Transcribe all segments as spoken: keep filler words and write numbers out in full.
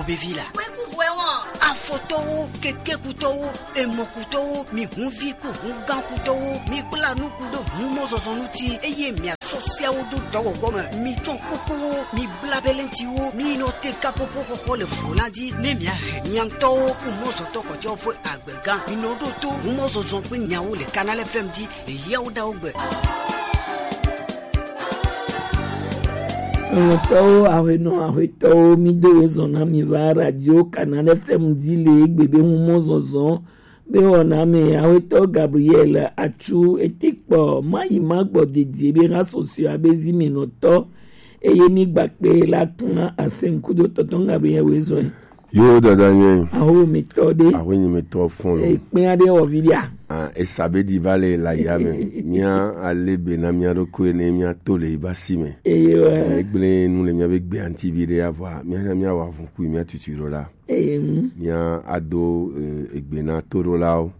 Vevi la. Afɔtɔwo, kekekutɔwo, emɔkutɔwo, mi hunvi ku hungankutɔwo, mi kpla nuku ɖo humɔzɔzɔ ŋuti, eye miasɔ seawo ɖo dɔwɔwɔ me. Mi tsɔ kukuwo, mi bla belentiwo, mi nɔ te kapopo xɔxɔ le vlo la dzi, ne miahe mia ŋutɔwo ku mɔzɔtɔ kɔtɔewo ƒe agbega. Mi nɔ ɖo to humɔzɔzɔ ƒe nyawo le Canal F M dzi le yawo ɖawo gbe. Lɔlɔ̃tɔwo, aƒenɔ, aƒetɔwo, mído wezɔ na mi va Radio Canal F M dzi le egbe be humɔzɔzɔ be wɔna me. Aƒetɔ Gabriel Atsu ete kpɔ mayi magbɔ dedie be ha sɔsɔe abe zimenɔtɔ eye mi gbakpe la tuna asem kudo tɔtɔ Gabriel wezɔe. Yo dada nye. Aho mi tɔ de. Aho nyi mi tɔ fɔn lo. Ekpɛn aɖe wɔ vi ɖia. Ah, esa be di va le la ya me. Mía ale be na mía ɖokui ne mía to le ba si me. Eye wa. Egblẽ nu le mía be gbe anti vi ɖe avɔ. Mía nya mía wa vun kui mía tutu ɖo la. Eye mu. Mía ado eh, egbe na to ɖo la o.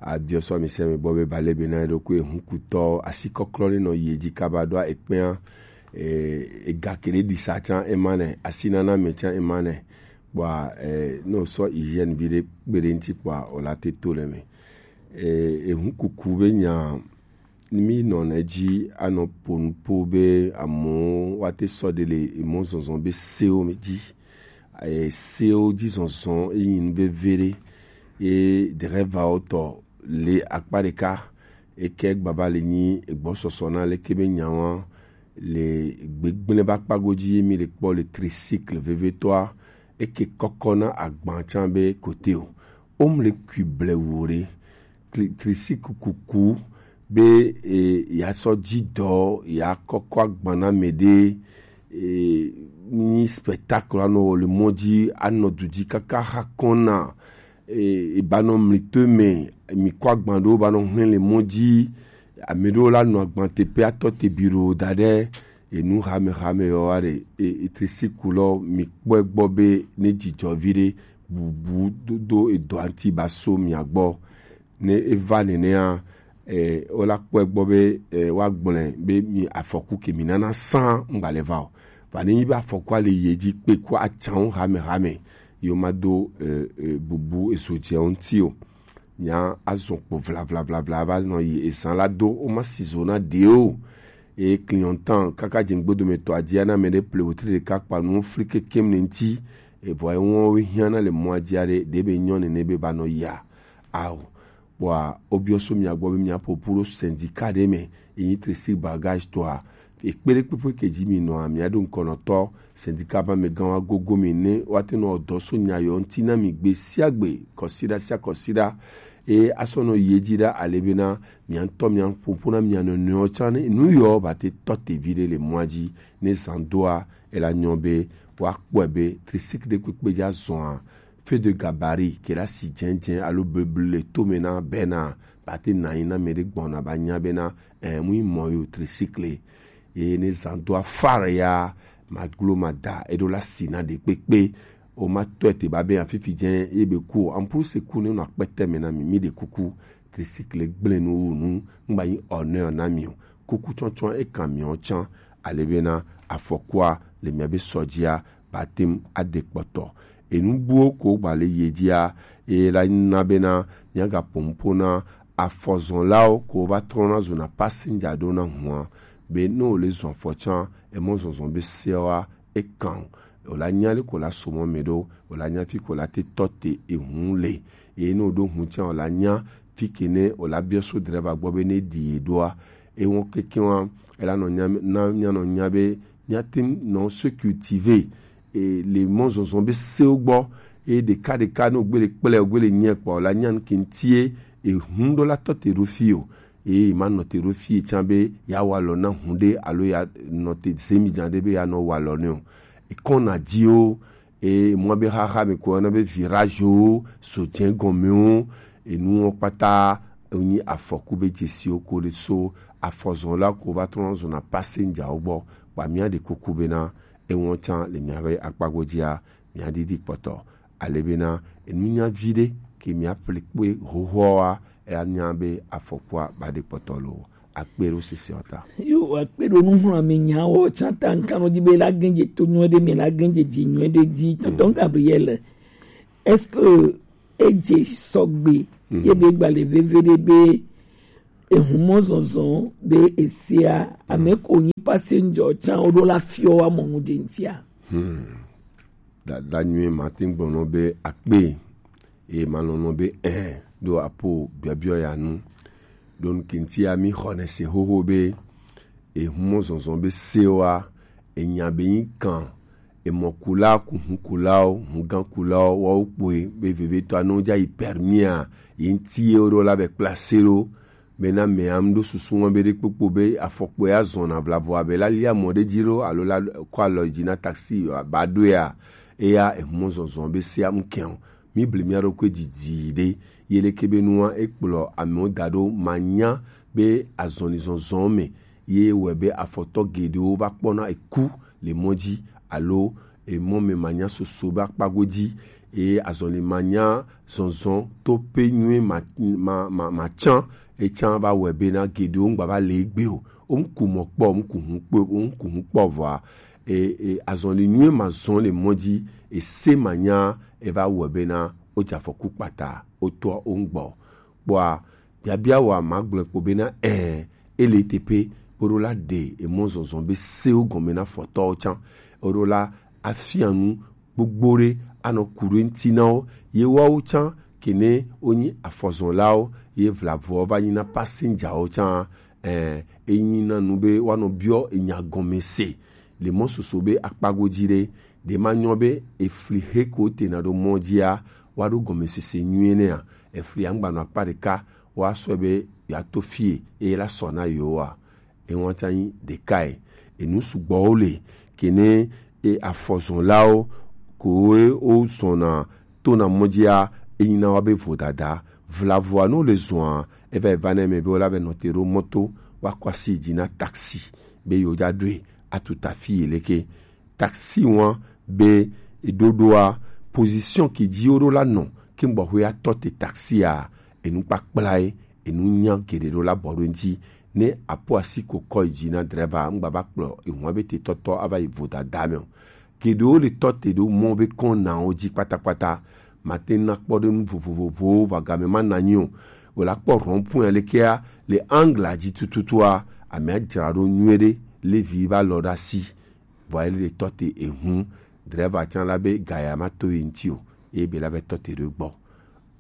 Abiɔ sɔ mi se me gbɔ be ba le be na ɖokui hun kutɔ asi kɔklɔ le nɔ ye dzi kaba ɖo ekpɛn eh, ega kele di sa tsan ema ne asi nana me tsan ema ne. Kpɔa eh, ne wòsɔ hygiène vi ɖe kpe ɖe ŋuti kpɔa wòla te to le me. Eh, ehu kuku be nya mi nɔ na edzi anɔ ƒo nu ƒo be amewo woate sɔ ɖe le emɔzɔzɔ be sewo dzi. Eh, sewo dzi zɔzɔ eyi nu veve ɖe ye drɛvawo tɔ le akpa ɖeka eke gbava le nyi egbɔsɔsɔ na leke be nyawa le gbegblẽ be akpa godzi ye mi le kpɔ le tricycle vevetɔa eke kɔkɔ na agba tsan be kote o. Womle kui blewu ɖe. Tri- tricycle kuku be e, yeasɔ dzi dɔ yeakɔkɔ agba na ame ɖe e, ni spectacle anɔ wɔ le mɔ dzi anɔ du dzi kaka hakɔn na e, ebanɔ mlito me mi kɔ agba ɖewo banɔ hlẽ le mɔ dzi ame ɖewo la nɔ agba teƒe atɔ te bi ɖo da ɖe enu hame hame yɔ wa ɖe e, e, tricycle lɔ mi kpɔe gbɔ be ne dzidzɔ vi ɖe bubu do do edɔ anti ba so mia gbɔ ne eva nenea eh, wola kpɔe gbɔ be eh, woagblɔe be mi afɔku ke mi nana sã ŋgba le va o. Va ne nyi be afɔkua le ye dzi kpe ku atsawo hame hame yewo ma do eh, eh, bubu ezo dzewo ŋuti o. Nya azɔ kpo vlavlavlavla va nɔ yi ezã la do woma si zo na ɖe o. Eye clientan kaka dze ŋgbedometɔ adzia na ame ɖe ple wotri ɖeka kpa nuwo fli kekem ne ŋuti evɔ ewɔwo hiã na le mɔa dzi aɖe ɖe be nyɔ nene be ba nɔ yia ao. Kpɔa wobiɔ so mia gbɔ be miaƒo ƒu ɖo sindika ɖe me yi nyi tresi bagage tɔa ekpe ɖe kpekpe ke dzi mi nɔa miaɖo ŋkɔnɔtɔ sindika ba me gã wa gogo mi ne woate nɔ dɔ so nya yɔ ŋti na mi gbe sia gbe kɔsiɖa sia kɔsiɖa eye asɔ nɔ yi edzi ɖa ale bena mia ŋutɔ mia ƒoƒo na mia nɔnɔewo tsã ne nu yɔ ba te tɔ te vi ɖe le mɔa dzi ne zã doa ela nyɔ be woakpɔe be trisik ɖe kpekpe dzi azɔa feu de gabarit ke la si dzɛdzɛ alo beblu le tome na bena ba te na yi na me ɖe gbɔna ba nya bena eh, mu yi mɔ yo trisikle ye ne zã do afare ya maglo mada eɖo la si na ɖe kpekpe o ma tɔe te ba be afifi dze ye be ku o ampuru se ku ne no akpete me na mi mi ɖe kuku trisikle gblẽ nu wu nu ŋgba yi honneur na mi o kuku tsɔtsɔ e kan mi o tsã ale bena afɔkua le mia be sɔ dzia ba tem aɖe kpɔtɔ enu buwo ko gba le ye dzia eye la na bena miagaƒo nuƒo na afɔzɔlawo ko va trɔna zona passenger ɖo na hua be ne wòle zɔ afɔ tsã emɔ zɔzɔ be seawoa ekan o wòla nya ɖe ko la somɔ me ɖo wòla nya fi ko la te tɔ te ehu le eye ne wòɖo hu tsã wòla nya fi ke ne wòla biɔ so drɛva gbɔ be ne ɖi ye ɖoa ewɔ keke wa ela nɔ nya na nya nɔ nya be nya te nɔ se cultiver e, le mɔzɔzɔ be sewo gbɔ eye ɖeka ɖeka ne wògbe le kple wògbe le nyɛ kpɔ la nya nuke ŋutie ehu ɖo la tɔ te ɖo fi o eye ma nɔ te ɖo fi tsã be ya wa lɔ na hu ɖe alo ya nɔ te zemi dza ɖe be ya nɔ wa lɔ ne o ekɔna dziwo eye mɔ be xaxa me ko yɔna be virage wo so dze gɔme wo enuwo kpata wonyi afɔku be dzesiwo ko ɖe so afɔzɔla ko va trɔ zɔna passenger wo gbɔ kpa mía ɖe kuku bena ewɔn tsã le mía be akpa godzia mía ɖiɖi kpɔtɔ ale bena enu nya vi ɖe ke mía ƒle kpe hohoa wa eya nya be afɔkua ba ɖe kpɔtɔ lo akpe ɖo sese ɔ ta. Yo, akpe ɖo nuxlɔ̃ame nyawo tsã ta, ŋkanɔ di be la gɛnje to nyuie ɖe me, la gɛnje dzi nyuie ɖe dzi. Tonton Gabriel, est-ce que edze sɔgbe ye be gbalẽ veve ɖe be ehumɔ zɔzɔ be esia ame ko nyi passenger tsã wo ɖo la fiɔ wa mɔ nu dze ŋtia? Hmm. Dada nyuie ma te gblɔ nɔ be akpe, eye ma lɔn nɔ be ɛ ɖo apo biɔbiɔ ya nu. Ɖo nu ke ŋtia mi xɔ ne se xoxo be ehumɔ zɔzɔ be sewa enya be nyi kan emɔkula ku hukulawo, hugãkulawo, woawo kpoe be vevietɔa ne wodza yi permia, ye ŋti ye woɖo la be kpla se ɖo. Bena mea ŋɖo susu wɔn be ɖekpokpo be afɔkpoe azɔna vlavo abe la lia mɔ ɖe dzi lo alo la kɔ alɔ dzi na taxi ba ɖoea, eya ehumɔ zɔzɔ be sea ŋkɛn o. Mi ble mia ɖokui didi ɖe, ye leke be nua ekplɔ amewo da ɖo manya be azɔli zɔzɔ me ye wɔe be afɔtɔ geɖewo va kpɔna eku le mɔ dzi alo emɔ me manya soso be akpa godzi, eye azɔli manya zɔzɔ to pe nyuie ma ma ma, ma tsã etsã va wɔe bena geɖewo ŋgba va le egbe o. Wo ŋku mɔ kpɔ, wo ŋku hu kpɔ, wo ŋku hu kpɔ vɔa, e, e, azɔli nyuie ma zɔn le mɔ dzi, ese manya eva wɔe bena wodze afɔku kpata wotɔ wo ŋgbɔ. Kpɔa biabia wa ma gblɔe kpo bena ɛ ele teƒe woɖo la ɖe emɔ zɔzɔ be sewo gɔme na fɔtɔwo tsã, woɖo la afia nu gbogbo ɖe anɔ ku ɖe ŋti na wo, ye woawo tsã kene wonyi afɔzɔlawo ye vlavoɔ va nyi na passengerwo tsã. Ɛ enyi na nu be woanɔ biɔ enya gɔme se le mɔ soso be akpa godzi ɖe, ɖe ma nyɔ be efli he ko tena ɖo mɔ dzia woaɖo gɔmesese nyuie nɛa, efli angbanɔ akpa ɖeka woasɔe be yeato fie eye la sɔ na yewoa. Ewan tsa nyi ɖekae. Enu sugbɔwo le kene e afɔzɔnlawo koe wozɔna tona mɔ dzia enyina wa be vodada vlavoa no le zɔa eva eva ne me be wola be nɔte ɖo mɔto woakɔ asi dzi na taxi be yewo dza ɖoe atu tafi yi leke. Taxi wan be eɖoɖoa position ke dzi woɖo la nɔ ke gbɔxwe atɔ te taxia enukpakplae enu nya geɖe ɖo la bɔ ɖo ŋti. Ne apo asi ko kɔ yi dzi na drɛva ŋgba va kplɔ ehun be te tɔtɔ ava yi vodada me o. Geɖewo le tɔ te ɖo mɔ be kɔnawo dzi kpatakpata. Mate na kpɔ ɖe nu vovovowo va game ma na nyi o. Wòle akpɔ rond-point lekea le angle dzi tututua, amea dzra ɖo nyuie ɖe, levi va lɔ ɖe asi. Vɔa ele tɔ te ehun, drɛva tsã la be gaya ma to ye ŋti o, eye be la be tɔ te ɖo egbɔ.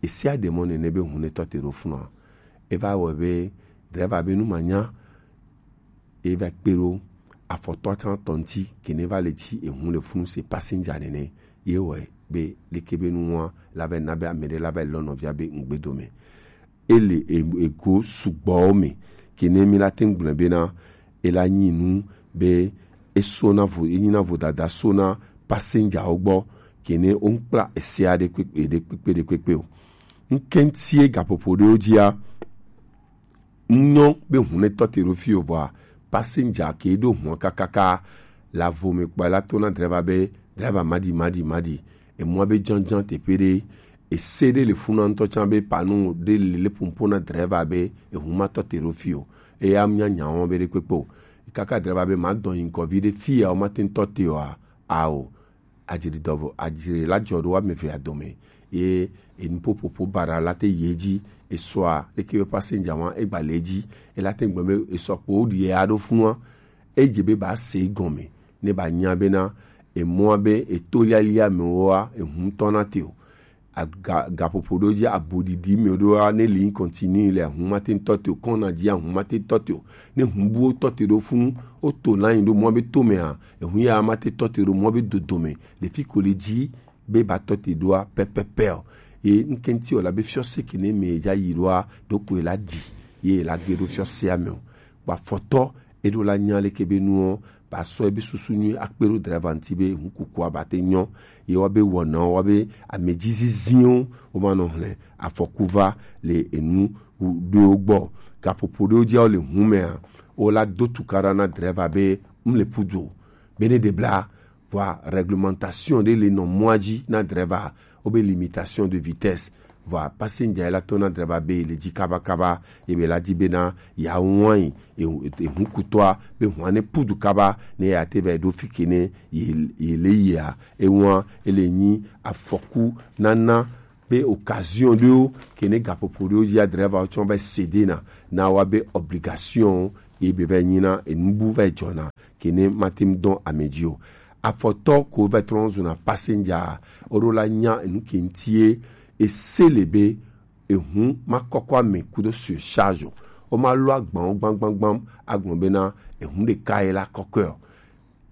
Esia ɖe mɔ nene be hun ne tɔ te ɖo funua. Eva wɔ be drɛva be nu ma nya, eva kpe ɖo afɔtɔ tsã tɔ ŋti, ke ne va le dzi ehun le funu se passenger nene, ye wɔ be leke be nua la va na be ame ɖe la va lɔ nɔvia be ŋgbe dome. Ele e- ego sugbɔwo me, ke ne mi la te ŋgblɔe bena ela nyi nu be eso na vo enyi na vodada so na passengerwo gbɔ, ke ne wo ŋkpla esea ɖe kpekpe ɖe kpekpe ɖe kpekpe o. Ŋkɛntie gaƒoƒo ɖewo dzia, ŋnyɔ be hun ne tɔ te ɖo fi o vɔa passenger ke ɖo hun kakaka la vo me kpɔ la to na drɛva be drɛva maɖi maɖi maɖi. Emua be dzɔndzɔn teƒe ɖe ese ɖe le funa ŋutɔ tsã be panu ɖe le le pompo na drɛva be ehu ma tɔ te ɖo fi o. Eya nya nya wɔn be ɖe kpekpe o. Kaka drɛva be ma dɔn yi ŋkɔ vi ɖe fi ya wo ma te ŋutɔ te oa? Ao. Adzri dɔvo adzri la dzɔ ɖo ame evea dome ye enuƒoƒoƒo bara la te yi edzi. Esɔa leke be passenger wa egba le edzi. Ela te gblɔ be esɔ kpo woɖi ya ɖo funua. Edze be ba se gɔme ne ba nya bena emɔa be eto lialia me woa ehu tɔ na te o. Aga gaƒoƒo ɖewo dzi aboɖiɖi me ɖoa ne li continue le ahu ma te tɔ te o, kɔna dzi ahu ma te tɔ te o. Ne hu buwo tɔ te ɖo funu woto na yi ɖo mɔ be to mea ehu ya ma te tɔ te ɖo mɔ be dodo me le fi ko le dzi be ba tɔ te ɖoa pɛpɛpɛ o. Ye ŋkɛnti o la be fiɔ se ke ne me ya yi ɖoa ɖo ko la di ye la ge ɖo fiɔ se ame o. Kpa fɔtɔ eɖo la nya leke be nuɔ ba sɔ ebe susu nyui akpe ɖo drɛva ŋti be ŋkukua ba te nyɔ. Ye wa be wɔna wa be amedzi ziziwo wo ma nɔ hlɛ afɔku va le enu ɖewo gbɔ. Gaƒoƒo ɖewo dzia wo le hu mea wo la do tukaɖa na drɛva be ŋle pudu o. Be ne ɖe bla vɔa réglementation ɖe le nɔ mɔa dzi na drɛva wo be limitation de vitesse. Vɔa passenger la to na driver be le ji kaba kaba, ebe la di be na ya wan yi, e, e, e hun kutɔa be hwan ne pudu kaba ne ya te be do fi ke ne ye, ye le yia. E wan ele nyi afɔku nana be occasion ɖewo ke ne gaƒoƒo ɖewo dzi ya driver wo tsɔ va céder na, na wa be obligation ye be va nyi na enubu va dzɔna ke ne mate ŋu dɔn ame dzi o. Afɔtɔ ko va trɔ zuna passenger, o ɖo la nya enu ke ŋuti ye ese le be ehun ma kɔkɔ ame kudo surcharge o. O ma lo agban wo gbam gbam gbam agblɔ be na ehun ɖeka ye la kɔkɔe o.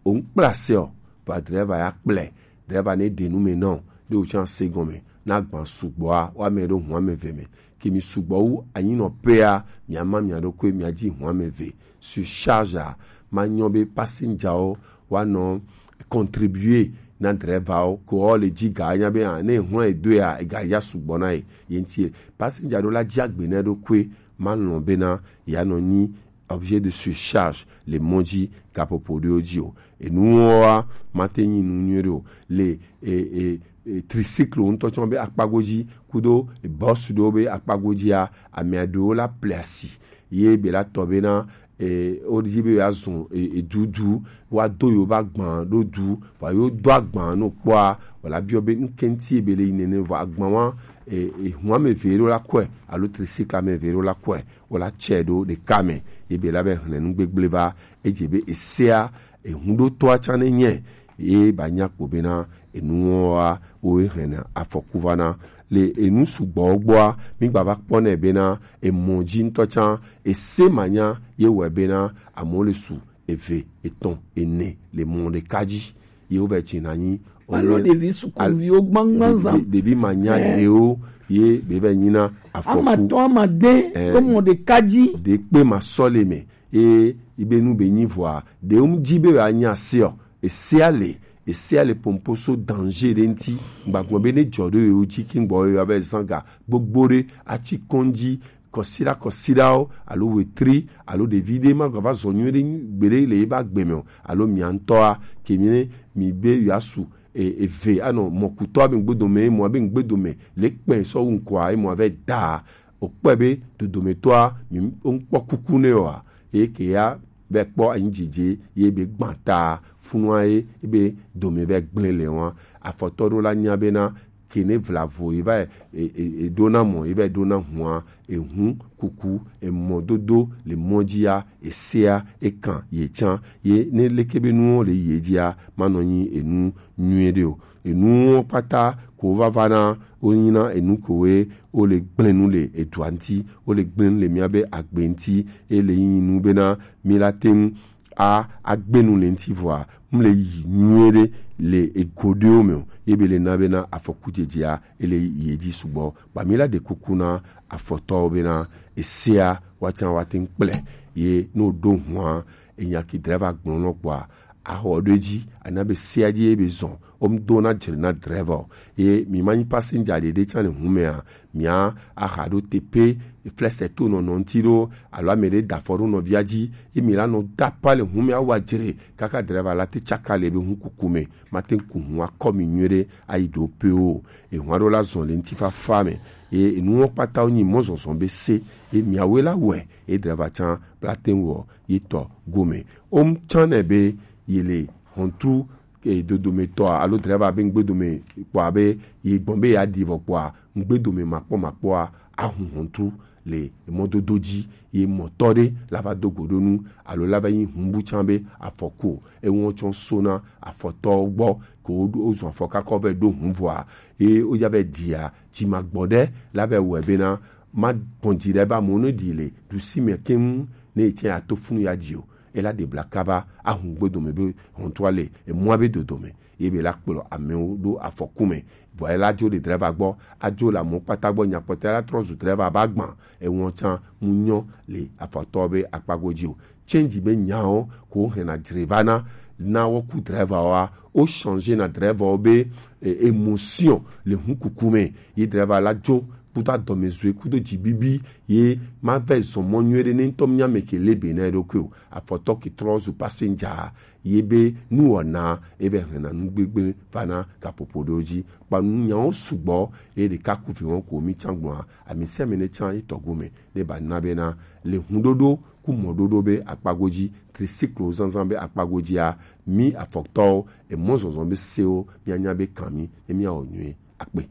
O ŋkpla se o, va driver ya kplɛ, driver ne ɖe nu me nɔ, ɖe o tsã se gɔme, na gban sugbɔa, wa me ɖo hua me ve me. Ke mi sugbɔ wu anyi nɔ pea, mia ma mia ɖo koe mia dzi hua me ve. Surcharge a, ma nyɔ be passenger wo, wa nɔ contribuer na driver wo, ko o le dzi ga nya be a, ne hua e do ya, e ga ya sugbɔ na ye, ye ŋuti ye. Passenger ɖo la dzi agbe na ɖo koe, ma lɔn be na, ya nɔ nyi objet de surcharge le mɔ dzi gaƒoƒo ɖewo dzi o. Enuwoa mate nyi nu nyuie ɖe o. Le e, e, e, tricycle ŋutɔ tsɔ be akpago dzi kudo bus ɖewo be akpago dzia, ame aɖewo la ple asi ye be la tɔ be na e, wo dzi be ya zun e, e, dudu wa do yo ba gban ɖo du va yo do agban no kpɔa wala biɔ be ŋkɛnti be le yi nene vɔ agban wa e, e, hun ame ve ɖo la kɔe alo tricycle ame ve ɖo la kɔe. Wo la tsɛ ɖo ɖeka me ye be la be hlẽ nu gbegble va edze be esea ehuɖotɔa tsã ne nyɛ ye ba nya kpo bena enuwoa wo hlẽna afɔku va na. Le enu sugbɔwo gbɔa mi gba va kpɔ nɛ bena emɔ dzi ŋutɔ tsã ese manya ye wɔe bena amewo le su eve etɔ̃ ene le mɔ ɖeka dzi ye wovɛ tsi na nyi. Alo ɖevi sukuviwo gbangban zã. Ɖevi manya ɖewo ye be vɛ nyina afɔku. Amatɔ amade be mɔ ɖeka dzi. Ɖe kpe ma sɔ le me ye ibe nu be nyi vɔa ɖewo mu dzi be wɔ anya se o. Esea le esea le pomposo danger ɖe ŋti. Gbagbɔ be ne dzɔ ɖo yewo dzi ki gbɔ yewo be zanga gbogbo ɖe atsi kɔndzi kɔsiɖa kɔsiɖawo alo wetri alo ɖevi ɖe ma gava zɔ nyuie ɖe gbeɖe le eba gbe me o alo mia ŋutɔa ke mi ne mi be yewoasu e, eve anɔ mɔkutɔ abe ŋgbedome mɔ abe ŋgbedome le kpɛ sɔ wu ŋkɔa emɔ avɛ da o kpɛ be dodometɔa mi ŋkpɔ kuku ne oa eye ke ya vɛ kpɔ anyi dzidzi ye be gbã ta funua ye be dome vɛ gblẽ le wa afɔtɔ ɖo la nya bena ke ne vlavo yi va e, e, e ɖona mɔ yi va ɖona hua ehu kuku emɔdodo le mɔ dzia esea ekan ye tsã ye ne leke be nuwo le ye dzia manɔ nyi enu nyuie ɖe o. Enuwo kpata ko vava na wo nyina enu kowe wo le gblẽ nu le edua ŋti wo le gblẽ nu le mia be agbe ŋti e le yi nu bena mi la te ŋu a agbenu le ŋti vɔa mle yi nyuie ɖe le ego ɖewo me o ye be le na bena afɔku dzedzea ele yi edzi sugbɔ ba mi la ɖe kuku na afɔtɔwo bena esea woatsã woate ŋu kplɛ ye ne woɖo hua enya ki driver gblɔ nɔ kpɔa axɔ ɖo edzi ana be sea dzi ye be zɔn wo mu do na dzre na driver o ye mi ma nyi passenger ɖeɖe tsã le hu mea mia aha ɖo tepe flɛsɛ to nɔnɔ ŋti ɖo alo ame ɖe da afɔ ɖo nɔvia dzi ye mi la nɔ da pa le hu mea wa dzre kaka driver la te tsaka le be hu kuku me ma te ŋu ku hu akɔ mi nyuie ɖe ayi ɖo pe o ehu aɖo la zɔn le ŋti fafa me ye enuwo kpata wo nyi mɔ zɔzɔ be se ye miawoe la wɔe ye driver tsã la te ŋu wɔ ye tɔ gome wo mu tsã nɛ be ye le hɔntru e, dodometɔa alo driver be ŋgbedome kpɔa be yi gbɔn be ya ɖi vɔ kpɔa ŋgbedome makpɔ makpɔa ahu hɔntru le mɔdodo dzi ye mɔtɔ ɖe la va do go ɖo nu alo la va yi hu bu tsã be afɔku o eŋɔ tsɔ so na afɔtɔwo gbɔ ko wo zun afɔ kakɔ vɛ ɖo hu vɔa ye wo ya vɛ ɖia dzi ma gbɔ ɖe la vɛ wɔe bena ma gbɔn dzi ɖe ba mo ne ɖi le ɖusi me keŋ ne yi tsɛ ato funu ya ɖi o ela ɖe bla kaba ahu gbedome be hɔntua le emua be dodome ye be la kplɔ amewo ɖo afɔku me vɔ ela dzo le driver gbɔ adzo le amewo kpata gbɔ nyakpɔtɔ ela trɔ zu driver ba gbã ewɔ tsã mu nyɔ le afɔtɔ be akpago dzi o change be nyawo ko hena driver na na wɔ ku driver wa o change na driver wo be e, émotion le hu kuku me ye driver la dzo kudo adɔmɛzoe kudo jibibi ye ma vɛ zɔn mɔ nyuie ɖe ne ŋutɔ nya mɛ ke lebe na ɖokui o. Afɔtɔ ke trɔ zu passenger ye be nuwɔna e vɛ hɛn na nugbegble va na gaƒoƒo ɖewo ji. Kpa nunyawo sugbɔ ye ɖeka ku vi wɔn ko mi can gbɔn a, ami sia mi ne can yi tɔgome ne ba na be na le hun ɖoɖo ku mɔ ɖoɖo be akpago ji, tricycle zanzan be akpago ji a, mi afɔtɔwo, emɔ zɔzɔ be sewo, mi anya be kan mi, ne mi awɔ nyuie. Akpe.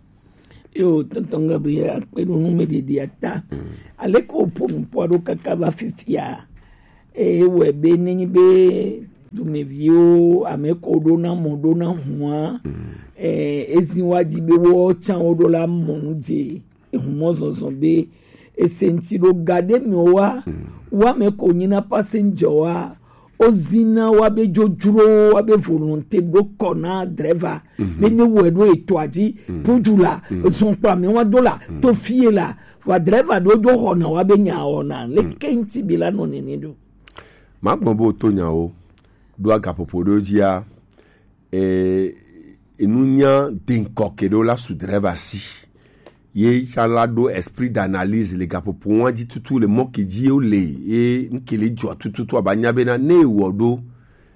Yo, tonton Gabriel, akpe ɖo nu me ɖeɖi ata. Mm. Ale ko po nu po ɖo kaka va fifia. E wɛ be nenyi be dumeviwo, ame ko ɖo na mɔ ɖo na hua. Mm. E, ezi wa ji be wo can wo ɖo la mɔ nu je. Ehumɔ zɔzɔ be ese ŋuti ɖo ga ɖe me wa, wa me ko nyi na passenger wa, o zina wa be dzodzro, wa be volonté ɖo kɔ na driver, be ne wɛ ɖo eto aji, puju la, zɔn kpa me wa do la, to fie la, wa driver ɖo dzo xɔ na wa be nya xɔ na, le ke ŋuti bi la nɔ nene ɖo. Ma gbɔn bo to nyawo, ɖo agaƒoƒo ɖo dzia, e, enunya denkɔ ke ɖo la su driver si. Ye tsã la ɖo esprit d'analyse le gaƒoƒo wa dzi tutu le mɔ ke dzi wo le, ye ŋke le dzɔ tututu aba nya be na ne ewɔ ɖo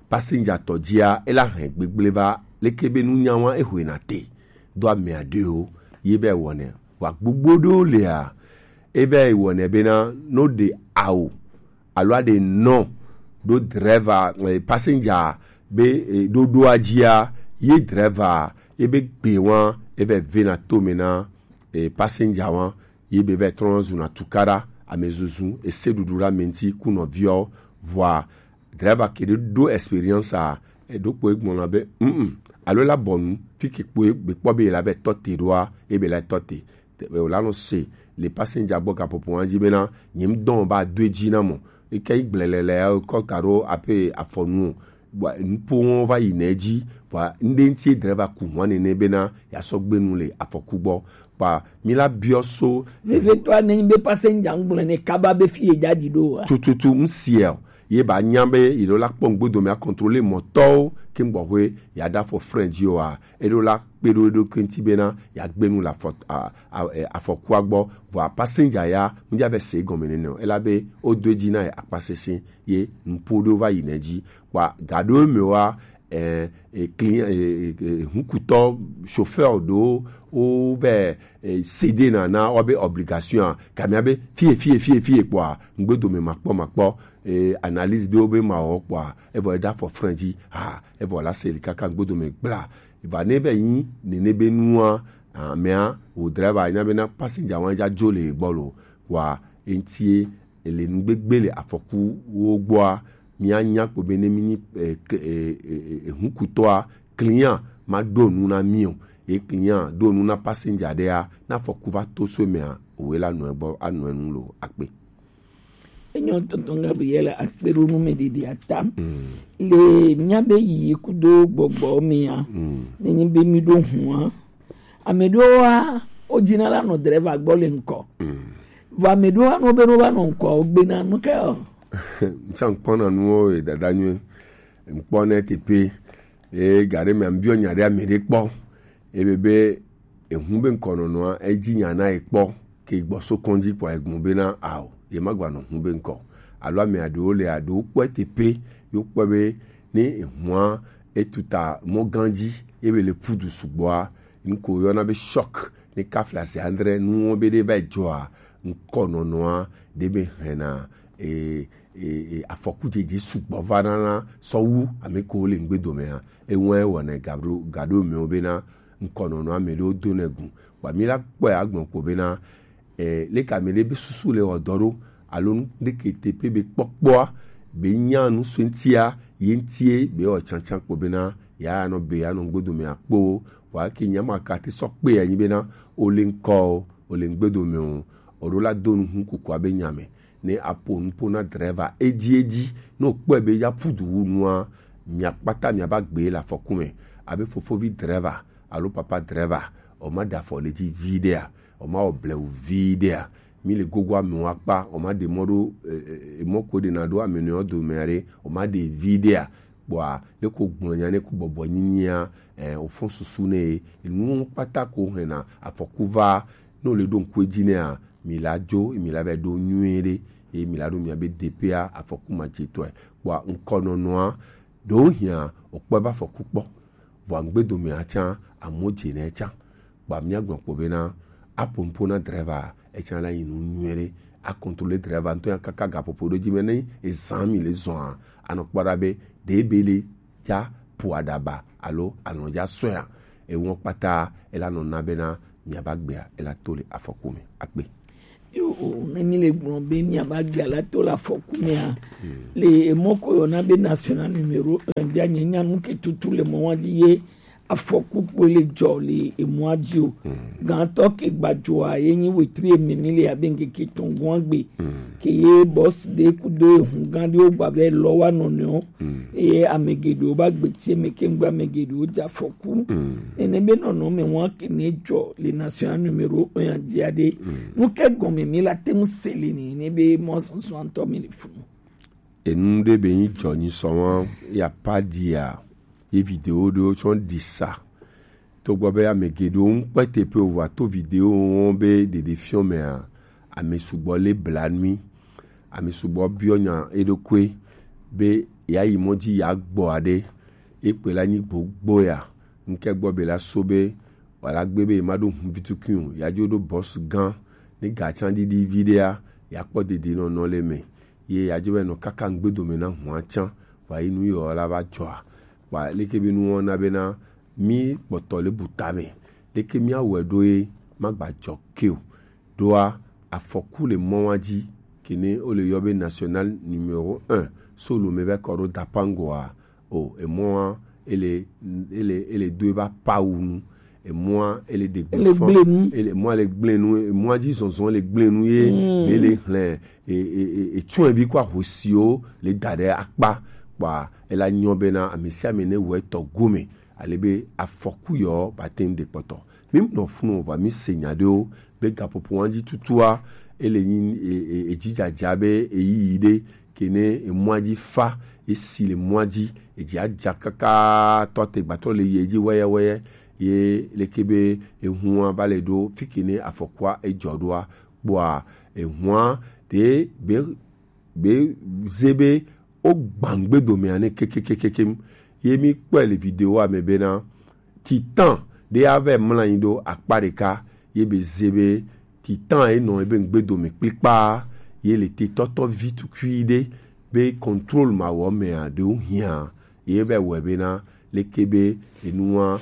passenger tɔ dzia, ela hɛn gbegble va leke be nunya wa ehwe na te do amea ɖewo ye be ewɔ ne. Wa gbogbo ɖewo lea, e vɛ wɔ nɛ bena no ɖe awu alo aɖe nɔ ɖo driver, eh, passenger be, eh, ɖoɖoa dzia, ye driver ye be gbe wa e vɛ vena tome na, eh, passenger wa ye be vɛ trɔ zuna tukaɖa, amezuzu, ese ɖuɖu ɖe ame ŋuti ku nɔviawo. Vɔa driver ke ɖe ɖo experience a, eɖo kpo egbɔna be, mm, alo la bɔnu fi ke kpo be kpɔ be la be tɔ te ɖoa, e be la tɔ te. Te-, o la nɔ se le passenger gbɔ gaƒoƒo wa dzi bena, nye ŋdɔ ba do edzi na mɔ. Eke yi gblelele ya kɔ ta ɖo ape afɔnu o. Bua nupo wɔn va yi nɛ dzi. Bua ŋɖe ŋuti driver ku hwan nene bena ya sɔ gbe nu le afɔku gbɔ. Kpa mi la biɔ so. Vevetɔa ne nyi be passenger ŋgblɔ ne kaba be fi ye dza ɖi ɖo wa. Tututu ŋsia o. Ye ba nya be yi ɖo la kpɔ ŋgbedo me a contrôler mɔtɔwo ke ŋgbɔxwe ya ɖa fɔ frein dzi o wa. Eɖo la kpe ɖo eɖokui ŋuti bena ya gbe nu le afɔ-, a-, a-, e, afɔkua gbɔ. Vɔa passenger ya ŋdza be se gɔme nene o. Ela be o do edzi na ye akpa sese ye nupo ɖewo va yi nɛ dzi. Kpa ga ɖewo me wa, eh, eh, client, eh, eh, eh, hukutɔ, chauffeur ɖewo, wo vɛ, eh, céder na, na wobe obligation a, kamia be fie, fie, fie, fie kpɔa, ŋgbedo me makpɔ, makpɔ, eh, analyse ɖewo be mawɔ kpɔa, evɔ eda fɔ frein dzi, ha, evɔ la se li kaka ŋgbedo me gbla. Va ne vɛ nyi nene be nua, amea, wo driver nya be na passenger wa dza dzo le gbɔ lo, wa eŋtie ele nugbegbe le afɔkuwo gbɔa, míanya kpo be ne mínyi, eh, ke-, eh, eh, eh, eh, hukutɔa, client ma ɖo nu na mí o. Ye client ɖo nu na passenger ɖea, ne afɔku va to so emea, owe la nɔ egbɔ, anɔ enu lo akpe. Enyo tonton Gabriel akpe ɖo nu me ɖeɖi ata. Mm. Le mía be yi kudo gbɔgbɔ mea, mm, nenyi be mí ɖo hua, ame ɖewoa, wodina la nɔ driver gbɔ le ŋkɔ. Mm. Vɔ ame ɖewoa, no be no va nɔ ŋkɔ, wogbena nu ke o. Ŋtsã ŋkpɔna nuwo ye dada nyuie. Ŋkpɔ ne teƒe. Ye ga ɖe me ambiɔ nya ɖe ame ɖe kpɔ. Ebe be ehu be ŋkɔ nɔnɔa, edzi nya na ye kpɔ. Ke gbɔ so kɔndzi kpɔ egbɔn bena ao, ye ma gba nɔ hu be ŋkɔ. Alo ame aɖewo le aɖewo kpɔe teƒe, yo kpɔe be ne ehua etuta mɔ gã dzi, ebe le pudu sugbɔa, nuko yɔna be choc, ne kafla se andre nuwo be ɖe va dzɔa, ŋkɔ nɔnɔa, ɖe be hɛna, e, e, e, afɔku dzedze sugbɔ va nana sɔwu ame ko le ŋgbedomea. Ewa wɔna gaɖo, gaɖo mewo bena ŋkɔ nɔnɔ ame ɖewo do ne gu. Kpa mi la kpɔe agbɔn ko bena, e, leke ame ɖe be susu le wɔ dɔ ɖo, alo nu ɖeke te pe be kpɔkpɔa, be nya nu so ŋtia, ye ŋtie be wɔ tsantsan kpo bena, ya nɔ be, ya nɔ ŋgbedomea kpo, vɔ ake nya ma ka te sɔ kpe ya nyi bena, o le ŋkɔ o, o le ŋgbedome o, o ɖo la do nu hu kukua be nya me. Ne aƒo nuƒo na driver edzi edzi, ne wòkpɔe be ya ƒu du wu nua, miakpata miava gbe le afɔku me. Abe fofovi driver alo papa driver, wòma ɖe afɔ le dzi viɖea, wòma wɔ blewu viɖea. Mi le gogo amewo akpa, wòma ɖe mɔ ɖo, e, e, e, mɔ ko ɖena ɖo ame nɔewo dome aɖe, wòma ɖe viɖea. Kpɔa, ne ko gblɔ nya ne ko bɔbɔ nyinyia, eh, wòfɔ susu ne ye. Enuwo kpata ko hɛna afɔku va Ne wole ɖo ŋku edzi nɛa, mi la dzo, mi la va ɖo nyuie ɖe, eye mi la ɖo miabe D P A afɔku ma dze tɔe. Kpɔa ŋkɔnɔnɔa, ɖewo hiã wòkpɔe be afɔku kpɔ, vɔa ŋgbedomea tsã, amewo dze nɛ tsã. Kpɔa míagblɔ kpɔ bena, aƒo nuƒo na driver, etsã la yi nu nyuie ɖe, akontrole driver ŋutɔ ya kaka gaƒoƒo ɖo dzi me ne ezã mi le zɔa, anɔ kpɔ ɖa be ɖe be le ya ƒo aɖaba alo alɔ̃dza sɔea, eŋɔ kpata ela nɔ na bena miaba gbea ela to le afɔku me akpe. Yo, ne mi le gblɔ be miaba gbea la to le afɔku mea, le emɔ ko yɔna be national numéro un bia nye nya nu ke tutu le mɔ wa dzi ye afɔku kpoe le dzɔ le emɔa dzi o. Gãtɔ ke gbadzoa ye nyi wetri eme mi le abe ŋkeke etɔ̃ gɔ̃a gbe. Ke ye bɔs ɖe kudo ehu gã ɖewo gba be lɔ wa nɔnɔewo. Eye ame geɖewo ba gbeti eme ke ŋgbe ame geɖewo dze afɔku. Nene be nɔnɔ me wa ke ne dzɔ le national numéro un ya dzia ɖe. Nu ke gɔme mi la te ŋu se le ni ne be mɔ susu ŋutɔ mi le funu. Enu ɖe be nyi dzɔ nyi sɔ wa ya pa dia ye video ɖewo tsɔ ɖi sa. Togbɔ be ame geɖewo ŋu kpe teƒe o, vɔa to video wɔn be ɖeɖefiɔ mea, ame sugbɔ le bla nui, ame sugbɔ biɔ nya eɖokui be ya yi mɔ dzi ya gbɔ aɖe, ekpe la nyi gbogbo ya, ŋke gbɔ be la so be wala gbe be ma ɖo hun vitukui o, ya dzo ɖo bɔs gã, ne ga tsã ɖiɖi vi ɖea, ya kpɔ dede nɔnɔ le me, ye ya dzo be nɔ kaka ŋgbe dome na hua tsã, va yi nu yɔ la va dzɔa. Kpa leke be nuwo na bena mi kpɔtɔ le bu tame. Leke mi awɔe ɖo ye magba dzɔ ke o. Ɖoa afɔku le mɔ wa dzi, kene wo le yɔ be national numéro un, so lo me va kɔ ɖo Dapangoa. O, emɔa, ele, ele, ele do eba pawu nu. Emɔa, ele de Ele gbe fɔ. Gble nu. Ele, emɔa le gble nu. Emɔa dzi zɔzɔ le gble nu ye. Mm. Be le hlɛ, e, e, e, e, tsɔe bi kɔ ahosiwo le da ɖe akpa. Kpa ela nyɔ bena ame sia ame ne wɔ etɔ gome. Ale be afɔku yɔ ba te ŋu de kpɔtɔ. Mi nɔ funu va mi se nya ɖewo be gaƒoƒo wa dzi tutua, ele nyi, e, e, e, dzidzadza be eyiyi ɖe, kene emɔa dzi fa, esi le mɔa dzi, edzi adza kaka tɔ te gbatɔ le yi edzi wɛyɛwɛyɛ, ye leke be ehua va le ɖo fi kene afɔkua edzɔ ɖoa, kpɔa ehua ɖe be, be ze be wo gbã ŋgbe domea ne kekekekekem. Ye mi kpɔe le videoa me bena, titan ɖe ya va mlɔ anyi ɖo akpa ɖeka, ye be ze be titan ye nɔ ebe ŋgbe dome kplikpa, ye le te tɔtɔ vi tukui ɖe be contrôle ma wɔ mea ɖewo hiã, ye va wɔe bena leke be enua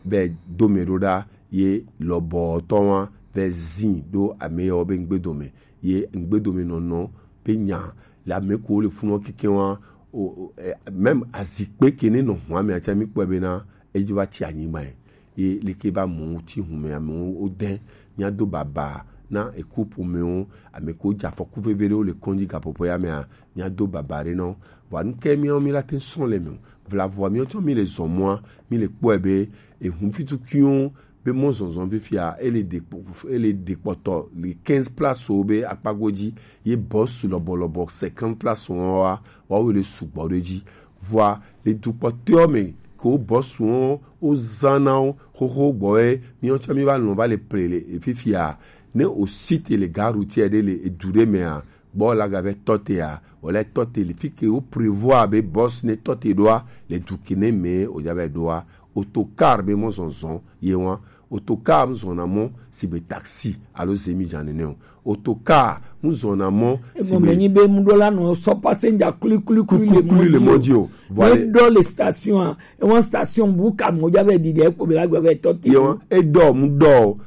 va do me ɖo ɖa, ye lɔbɔtɔ wa va zi ɖo ame yawo be ŋgbe dome, ye ŋgbe dome nɔnɔ be nya le ame ko le funɔ keke wa, o, o, eh, même azikpe ke ne nɔ hua me atsa mi kpɔe bena edzo va tsi anyigba ye. Ye leke ba mɔ ŋuti hume amewo wode, míado baba na eku ƒomewo, ame ko dze afɔku veve ɖewo le kɔndzi gaƒoƒo ya mea, míado baba ɖe nɔ. Vɔa nu ke míawo mi la te srɔ̃ le me o. Vlavɔa míawo tsɔ mi le zɔ mɔa, mi le kpɔe be ehu fitukuiwo be mɔ zɔzɔ fifia, ele de kpɔ-, ele de kpɔtɔ le quinze place wo be akpa godzi, ye bɔsu lɔbɔlɔbɔ cinquante place wɔn wa, wa wo le sugbɔ ɖe dzi. Vɔa le dukpɔtɔewo me ke wo bɔsuwo wo zã na wo xoxo gbɔ ye míawo tsã mi va lɔ̃ va le ple le fifia. Ne o site le gare routière ɖe le edu ɖe mea, gbɔ la gavɛ tɔtea, wòle tɔte le fi ke wo prévoir be bus ne tɔte ɖoa, le du ke ne me o dza va ɖoa, autocar be mɔ zɔzɔ ye wa. Autocar mu zɔna mɔ sigbe taxi alo zemi dza nene o. Autocar mu zɔna mɔ sigbe. Egɔme nyi be mu ɖo la nɔ sɔ passenger kuli kuli kuli le mɔ dzi o. Voilà. Ne ɖɔ le station a, ewa station bu ka mɔ dza va ɖi ɖe ekpo be la gba va tɔte. Ye wa, e ɖɔ mu ɖɔ o.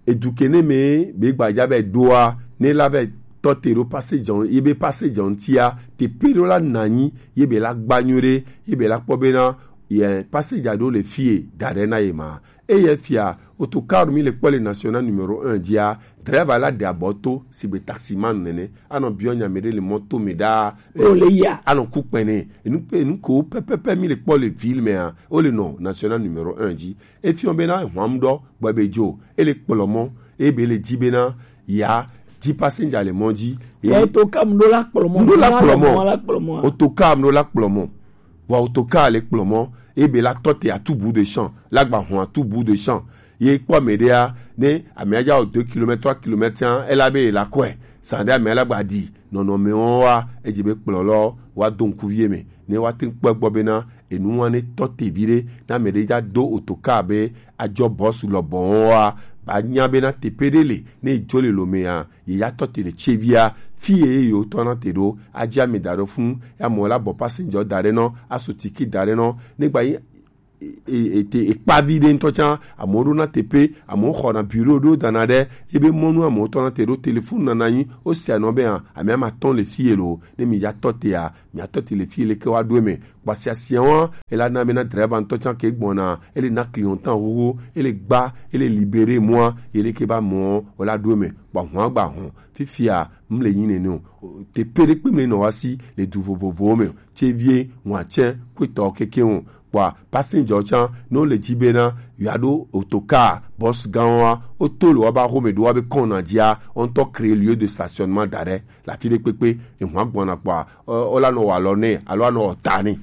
Edu ke ne me be gbadza be ɖoa, ne la be tɔte ɖo passenger, ye be passenger ŋutia, te pe ɖo la nanyi, ye be la gba nyuie ɖe, ye be la kpɔ bena, ye passenger ɖo le fie, da ɖe na ye ma. Eye fia, autocar mi le kpɔ le national numéro un dzia, driver la de abɔ to, sigbe taximan nene, anɔ biɔ nya me ɖe le mɔto me ɖaa. O le ya. Anɔ ku kpɛnɛ, enu pe, enu ko pɛpɛpɛ mi le kpɔ le ville mea, o le nɔ national numéro un dzi. Efiɔ bena hwam ɖɔ gbɔ be dzo, ele kplɔ mɔ, ebe le dzi bena ya dzi passenger le mɔ dzi. Ye autocar mu ɖo la kplɔ mɔ. Mu ɖo la kplɔ mɔ. Mu la kplɔ mɔ. Autocar mu ɖo la kplɔ mɔ. Vɔ autocar le kplɔ mɔ, ebe la tɔte à tout bout de champ, la gba hɔn à tout bout de champ. ye kpɔ mɛ ɖea, ne amea dza wɔ deux kilomètres, trois kilomètres hã, ela be ye la kɔe. San ɖe amea la gba ɖi nɔnɔme wɔn wa, edze be kplɔlɔ wa do ŋkuvi ye me. Ne wa te ŋkpɔe gbɔ bena enu wa ne tɔ te viɖe, ne ame ɖe dza do otoka be adzɔ bɔsu lɔbɔ wɔn wa, ba nya bena teƒe ɖe le, ne edzo le lomea, ye ya tɔ te le tsevia, fi ye ye wotɔ na te ɖo, adzi ame da ɖo funu, ya mɔ la bɔ passenger da ɖe nɔ, aso tiki da ɖe nɔ, ne gba yi e, e, e, te ekpa vi ɖe ŋutɔ tsã, amewo ɖo na teƒe, amewo xɔ na bureau ɖo da na ɖe, ebe mɔnu amewo tɔ na te ɖo telefon na na nyi, o sia nɔ be hã, ame ama tɔn le fi ye lo, ne mi ya tɔ te ya, mi ya tɔ te le fi ye le ke wa ɖo eme, kpasia sia wa, ela na be na driver ŋutɔ tsã ke gbɔna, ele na client tan xoxo, ele gba, ele libéré mɔa, ye le ke ba mɔ, o la ɖo eme, kpa hɔn agba hɔn, fifia, m le nyi nene o, teƒe ɖe kpe m le nɔ wa si, le du vovovowo me o, tsevie, ŋua tsɛ, kpetɔ keke o, kpɔa, passenger tsã, ne wole dzi bena yewoaɖo otoka bɔs gãwoa, woto le woƒe axome ɖo woƒe kɔna dzia, wo ŋutɔ créer lieu de stationnement da ɖe le afi ɖe kpekpe, eŋua gbɔna kpɔa, wo, wola nɔ wɔ alɔ nɛ alo anɔ wɔ ta nɛ.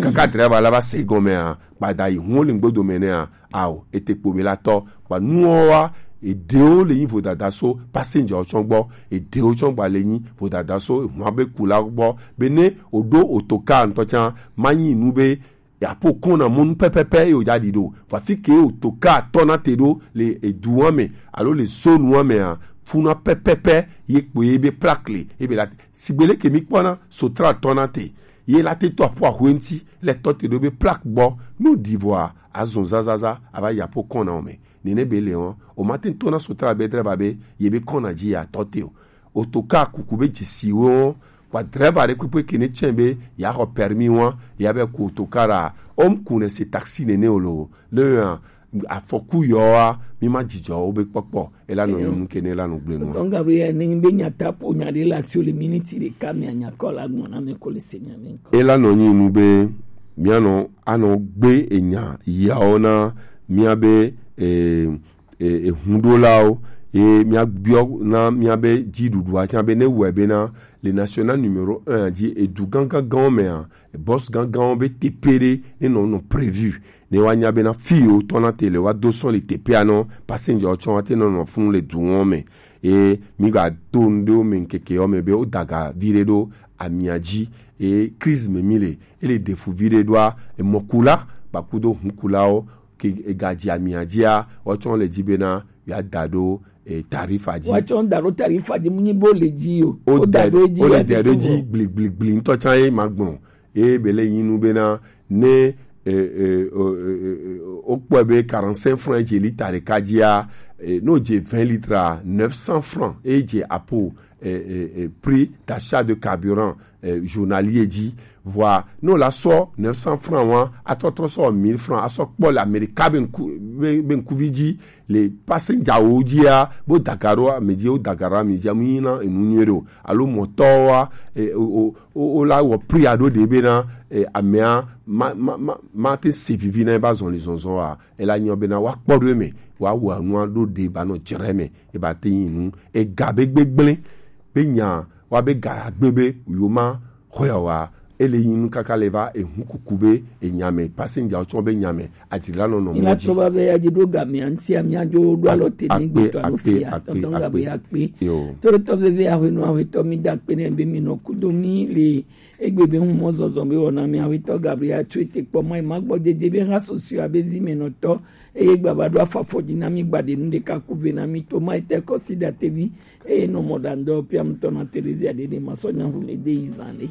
Kaka driver la va se gɔmea, gbada yi hu wole ŋgbedo me nɛa, ao, ete kpo be la tɔ, kpa nuwoa, eɖewo le nyi vodada so passenger tsɔ gbɔ, eɖewo tsɔ gba le nyi vodada so eŋua be kula gbɔ, be ne woɖo otoka ŋutɔ tsã, ma nyi nu be yapo kɔna mɔnu pɛpɛpɛ ye wòdza ɖi ɖo. Vɔ afi ke otoka tɔna te ɖo le eduwa me alo le zonua mea, funa pɛpɛpɛ ye kpo ye be plaque le, ye be la te. Sigbe leke mi kpɔna Sotra tɔna te, ye la te tɔ aƒu ahwe ŋuti le tɔ te ɖo be plaque gbɔ. No ɖi vɔa, azɔn zazaza ava yapo kɔna o me. Nene be le wɔn, o ma te tɔna Sotra be driver be ye be kɔna dzi ya tɔ te o. Otoka kuku be dzesiwo, kpa driver ɖe kpekpe ke ne tsɛ be ya xɔ permis wa, ya be ku otoka ɖa. Om ku ne se taxi nene o lo. Le ya afɔku yɔa, mi ma dzidzɔ wo be kpɔkpɔ. Ela nɔ nyi nu ke ne la nɔ gblẽ nu. Tɔn Gabriel, ne be nya ta po nya ɖe la sio le miniti ɖeka me nya kɔ la gbɔna me ko le se nya me ko. Ela nɔ nyi nu be mia nɔ anɔ gbe enya yawo na mia be, eh, e, ehuɖolawo, ye míabiɔ na míabe dziɖuɖua tsã be ne wɔe bena le national numéro un dzi edu gãgãgãwo mea, bɔs gãgãwo be teƒe ɖe ne nɔ nɔ prévu ne woanya bena fi yewo tɔna te le woado sɔn le teƒea nɔ passenger tsɔ woate nɔ nɔ funu le duwo me. Ye mígato nu ɖewo me ŋkeke yewo me be wodaga vi ɖe ɖo amia dzi, ye crise me mi le, ele ɖefu vi ɖe ɖoa, emɔkula kpakudo hunkulawo ke egadzi amia dzia, woatsɔ le dzi bena yeada ɖo, eh, tarifa dzi. Woatsɔ da ɖo tarifa dzi, mu nyi bo le dzi o. Woda ɖo edzi, wole da ɖo edzi gbligbligli ŋutɔ tsã ye ma gblɔ. Ye be le nyi nu bena ne, eh, eh, o, eh, eh, wokpɔe be quarante-cinq francs dze lita ɖeka dzia, eh, ne wodze vingt litres a, neuf cents francs ye dze apo, eh, eh, eh, prix d'achat de carburant, eh, journalier dzi. Vɔa, ne wòla sɔ neuf cents francs wa, atrɔtrɔ sɔ mille francs, asɔ kpɔ le Amerika be ŋku, be, be ŋkuvi dzi, le passenger wo dzia, bo daga ɖo ame dzi, wo daga ɖo ame dzi, amu yina enu nyuie ɖe o. Alo mɔtɔwoa, e, o, o, o, o la wɔ prix aɖo ɖe bena, e, amea, ma, ma, ma, ma te se vivi na eba zɔli zɔzɔ wa. Ela nyɔ bena woakpɔ ɖo eme, woawɔ enua ɖo ɖe ba nɔ dzre eme, eba te nyi nu. Ega be gbegblẽ, be nya, wa be ga agbe be, yo ma, xɔe wa, ele nyi nu kaka le va ehu kuku be, enya me, passenger wo tsɔ be nya me, adzila nɔ nɔ mɔ dzi. Ila tɔ va be ya dzi ɖo ga me, anti ya mia dzo ɖo alɔ te ne gbe tɔ alo fi ya, tɔntɔn ga be ya kpe. Yo. Tɔ ɖe tɔ veve ahwe nɔ ahwe tɔ mi da kpe ne be mi nɔ kudo mi le Egbe be ŋu mɔ zɔzɔ be wɔna mia wetɔ Gabriel tso ete kpɔ mɔ ema gbɔ dede be ha susui abe zi me nɔtɔ eye gbava ɖo afafɔ dzi na mi gbaɖe nu ɖeka ku ve na mi to ma ete kɔsi ɖatevi eye nɔ mɔ ɖandɔ pia mutɔ na Terezia ɖeɖe ma sɔ nya hu me de yi zan ɖe.